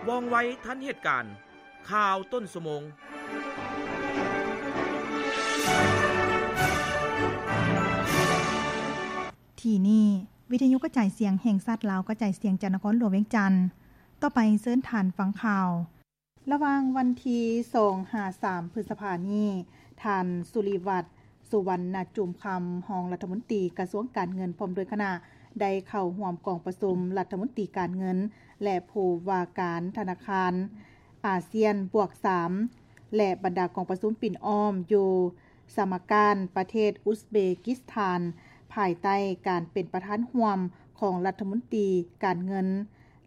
ວ່ອງໄວທັນເຫດການ. ຂ່າວຕົ້ນຊົ່ວໂມງ. ທີ່ນີ້ ວິທະຍຸກະຈາຍສຽງແຫ່ງຊາດລາວ ກະຈາຍສຽງຈາກນະຄອນຫຼວງວຽງຈັນ. ຕໍ່ໄປເຊີນທ່ານຟັງຂ່າວ. ລະຫວ່າງວັນທີສອງຫາສາມ ພຶດສະພານີ້ ທ່ານ ສຸລິວັດ ສຸວັນນະຈຸມຄຳ ຮອງລັດຖະມົນຕີກະຊວງການເງິນ ພ້ອມດ້ວຍຄະນະ ໄດ້ເຂົ້າຮ່ວມກອງປະຊຸມລັດຖະມົນຕີການເງິນ ແລະ ຜູ້ວ່າການທະນາຄານອາຊຽນບວກສາມ ແລະ ບັນດາກອງປະຊຸມປິ່ນອ້ອມຢູ່ສະມາການ ປະເທດອຸສເບກິສຖານ ພາຍໃຕ້ການເປັນປະທານຮ່ວມຂອງລັດຖະມົນຕີການເງິນ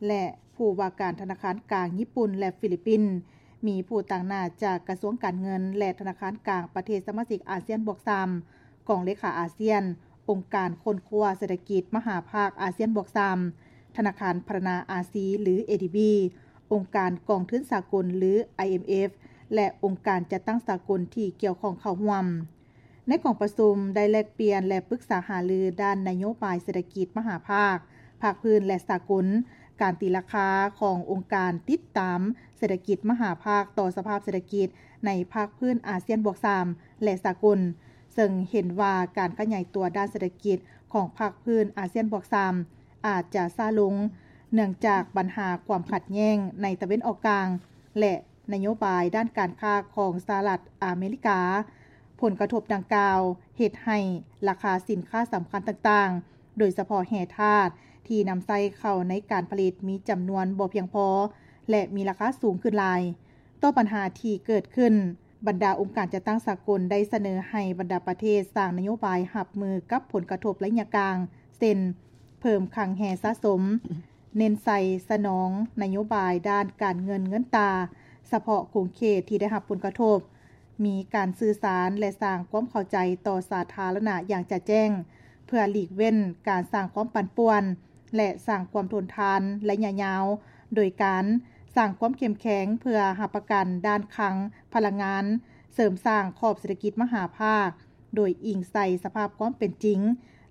ແລະ ຜູ້ວ່າການທະນາຄານກາງຍີ່ປຸ່ນ ແລະ ຟີລິບປິນ, ມີຜູ້ຕາງໜ້າຈາກກະຊວງການເງິນ ແລະ ທະນາຄານກາງປະເທດສະມາຊິກອາຊຽນບວກສາມ, ກອງເລຂາອາຊຽນ, ອົງການຄົ້ນຄວ້າເສດຖະກິດມະຫາພາກອາຊຽນບວກສາມ, ທະນາຄານພັດທະນາອາຊີ ຫຼື ເອດີບີ, ອົງການກອງທຶນສາກົນ ຫຼື ໄອເອັມເອັຟ ແລະ ອົງການຈັດຕັ້ງສາກົນທີ່ກ່ຽວຂ້ອງເຂົ້າຮ່ວມ. ໃນກອງປະຊຸມໄດ້ແລກປ່ຽນ ແລະ ປຶກສາຫາລືດ້ານນະໂຍບາຍເສດຖະກິດມະຫາພາກ, ພາກພື້ນ ແລະ ສາກົນ, ການຕີລາຄາຂອງອົງການຕິດຕາມເສດຖະກິດມະຫາພາກຕໍ່ສະພາບເສດຖະກິດໃນພາກພື້ນອາຊຽນບວກສາມ ແລະ ສາກົນ, ເຊິ່ງເຫັນວ່າການຂະຫຍາຍຕົວດ້ານເສດຖະກິດຂອງພາກພື້ນອາຊຽນບວກສາມ ອາດຈະຊ້າລົງ ເນື່ອງຈາກບັນຫາຄວາມຂັດແຍ່ງໃນຕາເວັນອອກກາງ ແລະ ນະໂຍບາຍດ້ານການຄ້າຂອງສະຫະລັດອາເມລິກາ. ຜົນກະທົບດັ່ງກ່າວເຮັດໃຫ້ລາຄາສິນຄ້າສຳຄັນຕ່າງໆ, ໂດຍສະເພາະແຮ່ທາດທີ່ນຳໃຊ້ເຂົ້າໃນການຜະລິດມີຈຳນວນບໍ່ພຽງພໍ ແລະ ມີລາຄາສູງຂຶ້ນຫຼາຍ. ຕໍ່ບັນຫາທີ່ເກີດຂຶ້ນ, ບັນດາອົງການຈັດຕັ້ງສາກົນໄດ້ສະເໜີໃຫ້ບັນດາປະເທດສ້າງນະໂຍບາຍຮັບມືກັບຜົນກະທົບໄລຍະກາງ ເຊັ່ນ ເພີ່ມຄັງແຮ່ສະສົມ, ເນັ້ນໃສ່ສະໜອງນະໂຍບາຍດ້ານການເງິນເງິນຕາສະເພາະຂົງເຂດທີ່ໄດ້ຮັບຜົນກະທົບ, ມີການສື່ສານ ແລະ ສ້າງຄວາມເຂົ້າໃຈຕໍ່ສາທາລະນະຢ່າງຈະແຈ້ງ, ເພື່ອຫຼີກເວັ້ນການສ້າງຄວາມປັ່ນປ່ວນ ແລະ ສ້າງຄວາມທົນທານໄລຍະຍາວ, ໂດຍການສ້າງຄວາມເຂັ້ມແຂງເພື່ອຮັບປະກັນດ້ານຄັງພະລັງງານ, ເສີມສ້າງຂອບເສດຖະກິດມະຫາພາກ ໂດຍອີງໃສ່ສະພາບຄວາມເປັນຈິງ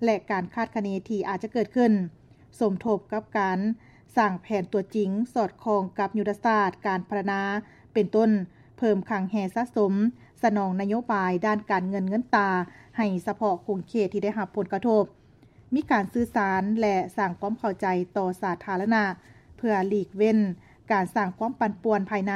ແລະ ການຄາດຄະເນທີ່ອາດຈະເກີດຂຶ້ນ, ສົມທົບກັບການສ້າງແຜນຕົວຈິງສອດຄ່ອງກັບຍຸດທະສາດການພັດທະນາ, ເປັນຕົ້ນ ເພີ່ມຄັງແຮ່ສະສົມ, ສະໜອງນະໂຍບາຍດ້ານການເງິນເງິນຕາໃຫ້ສະເພາະຂົງເຂດທີ່ໄດ້ຮັບຜົນກະທົບ, ມີການສື່ສານ ແລະ ສ້າງຄວາມເຂົ້າໃຈຕໍ່ສາທາລະນະ ເພື່ອຫຼີກເວັ້ນການສ້າງຄວາມປັ່ນປ່ວນພາຍໃນ.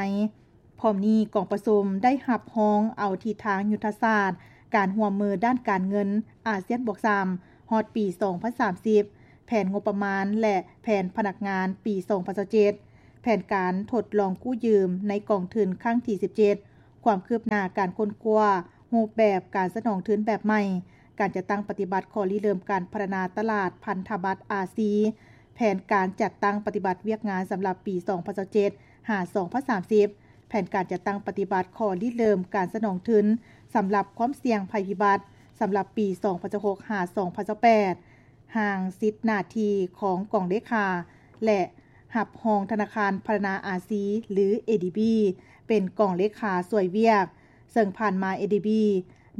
ພ້ອມນີ້, ກອງປະຊຸມໄດ້ຮັບຮອງເອົາທິດທາງຍຸດທະສາດການຮ່ວມມືດ້ານການເງິນອາຊຽນບວກສາມ ຮອດປີສອງພັນສາມສິບ, ແຜນງົບປະມານ ແລະ ແຜນພະນັກງານປີສອງພັນຊາວເຈັດ, ແຜນການທົດລອງກູ້ຢືມໃນກອງທຶນຄັ້ງທີສິບເຈັດ, ຄວາມຄືບໜ້າການຄົ້ນຄວ້າຮູບແບບການສະໜອງທຶນແບບໃໝ່, ການຈັດຕັ້ງປະຕິບັດຂໍ້ລິເລີ່ມການພັດທະນາຕະຫຼາດພັນທະບັດອາຊີ, ແຜນການຈັດຕັ້ງປະຕິບັດວຽກງານສຳລັບປີສອງພັນຊາວເຈັດ ຫາ ສອງພັນສາມສິບ, ແຜນການຈັດຕັ້ງປະຕິບັດຂໍ້ລິເລີ່ມການສະໜອງທຶນສຳລັບຄວາມສ່ຽງໄພພິບັດສຳລັບປີສອງພັນຊາວຫົກ ຫາ ສອງພັນຊາວແປດ, ຮ່າງສິດໜ້າທີ່ຂອງກອງເລຂາ ແລະ ຮັບຮອງທະນາຄານພັດທະນາອາຊີ ຫຼື ເອດີບີ ເປັນກອງເລຂາຊ່ວຍວຽກ, ເຊິ່ງຜ່ານມາ ເອດີບີ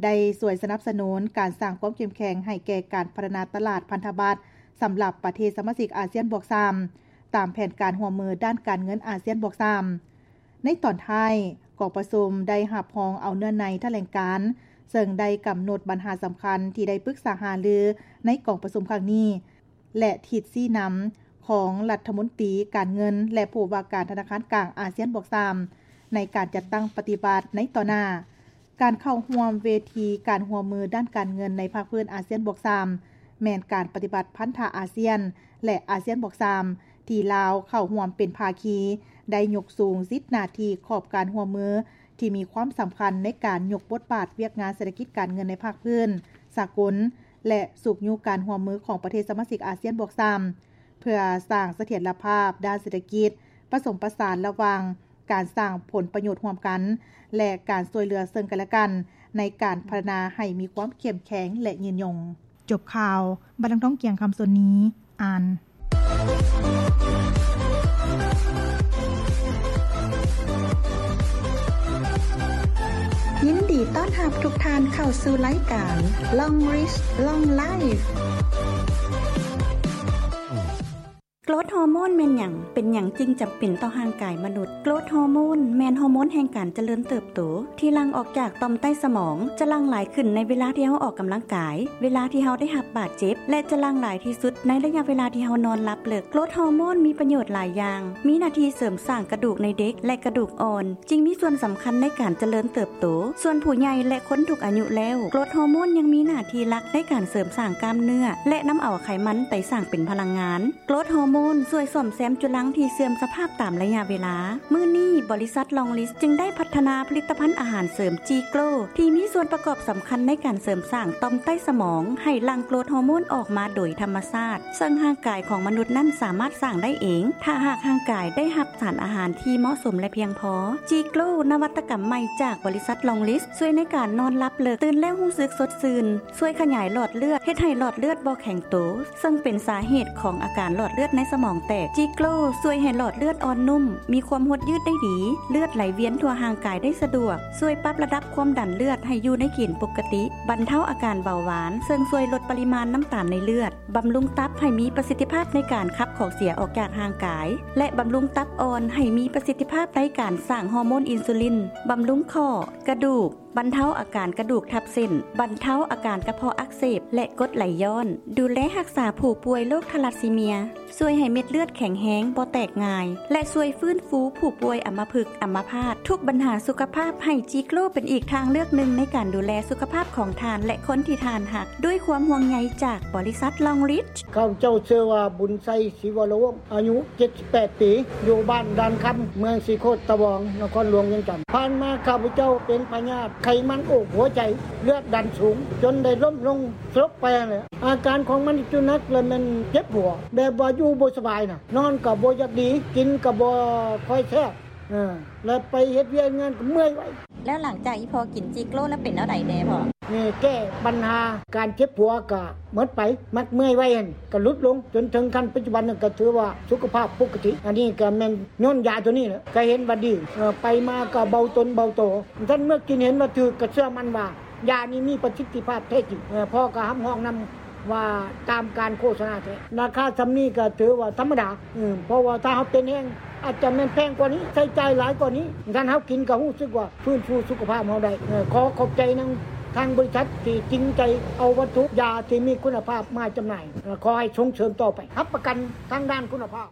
ໄດ້ຊ່ວຍສະໜັບສະໜູນການສ້າງຄວາມເຂັ້ມແຂງໃຫ້ແກ່ການພັດທະນາຕະຫຼາດພັນທະບັດສຳລັບປະເທດສະມາຊິກອາຊຽນບວກສາມ ຕາມແຜນການຮ່ວມມືດ້ານການເງິນອາຊຽນບວກສາມ. ໃນຕອນທ້າຍ, ກອງປະຊຸມໄດ້ຮັບຮອງເອົາເນື້ອໃນຖະແຫຼງການ, ເຊິ່ງໄດ້ກຳນົດບັນຫາສຳຄັນທີ່ໄດ້ປຶກສາຫາລືໃນກອງປະຊຸມຄັ້ງນີ້ ແລະ ທິດຊີ້ນຳຂອງລັດຖະມົນຕີການເງິນ ແລະ ຜູ້ວ່າການທະນາຄານກາງອາຊຽນບວກສາມ ໃນການຈັດຕັ້ງປະຕິບັດໃນຕໍ່ໜ້າ. ການເຂົ້າຮ່ວມເວທີການຮ່ວມມືດ້ານການເງິນໃນພາກພື້ນອາຊຽນບວກສາມ ແມ່ນການປະຕິບັດພັນທະອາຊຽນ ແລະ ອາຊຽນບວກສາມ ທີ່ລາວເຂົ້າຮ່ວມເປັນພາຄີ, ໄດ້ຍົກສູງສິດໜ້າທີ່ຂອບການຮ່ວມມືທີ່ມີຄວາມສຳຄັນໃນການຍົກບົດບາດວຽກງານເສດຖະກິດການເງິນໃນພາກພື້ນສາກົນ ແລະ ຊຸກຍູ້ການຮ່ວມມືຂອງປະເທດສະມາຊິກອາຊຽນບວກສາມ ເພື່ອສ້າງສະຖຽນລະພາບດ້ານເສດຖະກິດ, ປະສົມປະສານລະຫວ່າງການສ້າງຜົນປະໂຫຍດຮ່ວມກັນ ແລະ ການຊ່ວຍເຫຼືອເຊິ່ງກັນແລະກັນ ໃນການພັດທະນາໃຫ້ມີຄວາມເຂັ້ມແຂງ ແລະ ຍືນຍົງ. ຈົບຂ່າວ, ບັດນາງທອງກຽງຄຳ ສ່ວນນີ້ ອ່ານ. ຍິນດີຕ້ອນຮັບທຸກທ່ານເຂົ້າສູ່ລາຍການ Long Reach Long Life. ໂກຣດຮໍໂມນແມ່ນຫຍັງ? ເປັນຫຍັງຈຶ່ງຈຳເປັນຕໍ່ຮ່າງກາຍມະນຸດ? ໂກຣດຮໍໂມນແມ່ນຮໍໂມນແຫ່ງການຈະເລີນເຕີບໂຕ ທີ່ຫຼັ່ງອອກຈາກຕ່ອມໃຕ້ສະໝອງ, ຈະຫຼັ່ງຫຼາຍຂຶ້ນໃນເວລາທີ່ເຮົາອອກກຳລັງກາຍ, ເວລາທີ່ເຮົາໄດ້ຮັບບາດເຈັບ ແລະ ຈະຫຼັ່ງຫຼາຍທີ່ສຸດໃນໄລຍະເວລາທີ່ເຮົານອນຫຼັບເລິກ. ໂກຣດຮໍໂມນມີປະໂຫຍດຫຼາຍຢ່າງ, ມີໜ້າທີ່ເສີມສ້າງກະດູກໃນເດັກ ແລະ ກະດູກອ່ອນ, ຈຶ່ງມີສ່ວນສຳຄັນໃນການຈະເລີນເຕີບໂຕ. ສ່ວນຜູ້ໃຫຍ່ ແລະ ຄົນທຸກອາຍຸແລ້ວ, ໂກຣດຮໍໂມນຍັງມີໜ້າທີ່ຫຼັກໃນການເສີມສ້າງກ້າມເນື້ອ ແລະ ນຳເອົາໄຂມັນໄປສ້າງເປັນພະລັງງານ. ໂກຣດຮໍໂມນຊ່ວຍສ້ອມແຊມຈຸລັງທີ່ເສື່ອມສະພາບຕາມໄລຍະເວລາ. ມື້ນີ້, ບໍລິສັດ Longlis ຈຶ່ງໄດ້ພັດທະນາຜະລິດຕະພັນອາຫານເສີມ G-Grow ທີ່ມີສ່ວນປະກອບສຳຄັນໃນການເສີມສ້າງຕ່ອມໃຕ້ສະໝອງໃຫ້ຫຼັ່ງໂກຣດຮໍໂມນອອກມາໂດຍທຳມະຊາດ, ເຊິ່ງຮ່າງກາຍຂອງມະນຸດນັ້ນສາມາດສ້າງໄດ້ເອງ ຖ້າຫາກຮ່າງກາຍໄດ້ຮັບສານອາຫານທີ່ເໝາະສົມ ແລະ ພຽງພໍ. G-Grow ນະວັດຕະກຳໃໝ່ຈາກບໍລິສັດ Longlis ຊ່ວຍໃນການນອນຫຼັບເລິກ, ຕື່ນແລ້ວຮູ້ສຶກສົດຊື່ນ, ຊ່ວຍຂະຫຍາຍຫຼອດເລືອດ, ເຮັດໃຫ້ຫຼອດເລືອດບໍ່ແຂງໂຕ, ເຊິ່ງເປັນສາເຫດຂອງອາການຫຼອດເລືອດໃນສະໝອງແຕກ. G-Grow ຊ່ວຍໃຫ້ຫຼອດເລືອດອ່ອນນຸ້ມ, ມີຄວາມຫົດຍືດໄດ້ດີ, ເລືອດໄຫຼວຽນທົ່ວຮ່າງກາຍໄດ້ສະດວກ, ຊ່ວຍປັບລະດັບຄວາມດັນເລືອດໃຫ້ຢູ່ໃນເກນປົກກະຕິ, ບັນເທົາອາການເບົາຫວານ, ເຊິ່ງຊ່ວຍລົດປະລິມານນ້ຳຕານໃນເລືອດ, ບຳລຸງຕັບໃຫ້ມີປະສິດທິພາບໃນການຂັບຂອງເສຍອອກຈາກຮ່າງກາຍ ແລະ ບຳລຸງຕັບອ່ອນໃຫ້ມີປະສິດທິພາບໃນການສ້າງຮໍໂມນອິນຊູລິນ, ບຳລຸງຂໍ້, ກະດູກ, ບັນເທົາອາການກະດູກທັບເສັ້ນ, ບັນເທົາອາການກະເພາະອັກເສບ ແລະ ກົດໄຫຼຍ້ອນ, ດູແລຮັກສາຜູ້ປ່ວຍໂລກທາລັດຊີເມຍ, ຊ່ວຍໃຫ້ເມັດເລືອດແຂງແຮງ, ບໍ່ແຕກງ່າຍ ແລະ ຊ່ວຍຟື້ນຟູຜູ້ປ່ວຍອຳມະພຶກ, ອຳມະພາດ, ທຸກບັນຫາສຸຂະພາບ, ໃຫ້ G-Grow ເປັນອີກທາງເລືອກໜຶ່ງໃນການດູແລສຸຂະພາບຂອງທ່ານ ແລະ ຄົນທີ່ທ່ານຮັກ, ດ້ວຍຄວາມຫ່ວງໃຍຈາກບໍລິສັດ Longlis. ຂ້າພະເຈົ້າຊື່ວ່າ ບຸນໄຊ ສີວະລະວົງ ອາຍຸເຈັດສິບແປດປີ ຢູ່ບ້ານດ່ານຄຳ ເມືອງສີໂຄດຕະບອງ ນະຄອນຫຼວງວຽງຈັນ. ຜ່ານມາຂ້າພະເຈົ້າເປັນພະຍາດໄຂມັນໂອກຫົວໃຈ ເລືອດດັນສູງ ຈົນໄດ້ລົ້ມລົງສະຫຼົບໄປຫັ້ນແຫຼະ. ອາການຂອງມັນທີ່ໜັກລະແມ່ນເຈັບຫົວ ແບບວ່າຢູ່ບໍ່ສະບາຍນະ, ນອນກໍບໍ່ຢາກດີ, ກິນກໍບໍ່ຄ່ອຍແຊບ, ເອີ ແລະ ໄປເຮັດວຽກງານກໍເມື່ອຍໄວ. ແລ້ວຫຼັງຈາກອີ່ພໍ່ກິນ G-Grow ແລ້ວເປັນແນວໃດແດ່ພໍ່? ນີ້ແກ້ບັນຫາການເຈັບຫົວກໍໝົດໄປ, ມັກເມື່ອຍໄວຫັ້ນກໍຫຼຸດລົງ ຈົນເຖິງຂັ້ນປັດຈຸບັນນັ້ນກໍຖືວ່າສຸຂະພາບປົກກະຕິ. ອັນນີ້ກໍແມ່ນຍ້ອນຢາໂຕນີ້ແຫຼະ ກໍເຫັນວ່າດີ, ເອີ ໄປມາກໍເບົາຕົນເບົາໂຕ. ຊັ້ນເມື່ອກິນເຫັນວ່າຖືກ ກໍເຊື່ອໝັ້ນວ່າຢານີ້ມີປະສິດທິພາບແທ້ຈິງ. ເອີ ພໍ່ກໍຮັບຮອງນຳ ວ່າຕາມການໂຄສະນາແທ້. ລາຄາສ່ຳນີ້ກໍຖືວ່າທຳມະດາ, ເພາະວ່າຖ້າເຮົາເປັນແຮງ ອາດຈະແມ່ນແພງກວ່ານີ້, ໃຊ້ຈ່າຍຫຼາຍກວ່ານີ້, ຄັນເຮົາກິນກໍຮູ້ສຶກວ່າຟື້ນຟູສຸຂະພາບເຮົາໄດ້. ຂໍຂອບໃຈນຳທາງບໍລິສັດທີ່ຈິງໃຈເອົາວັດຖຸຢາທີ່ມີຄຸນນະພາບມາຈຳໜ່າຍ. ຂໍໃຫ້ສົ່ງເສີມຕໍ່ໄປ, ຮັບປະກັນທາງດ້ານຄຸນນະພາບ.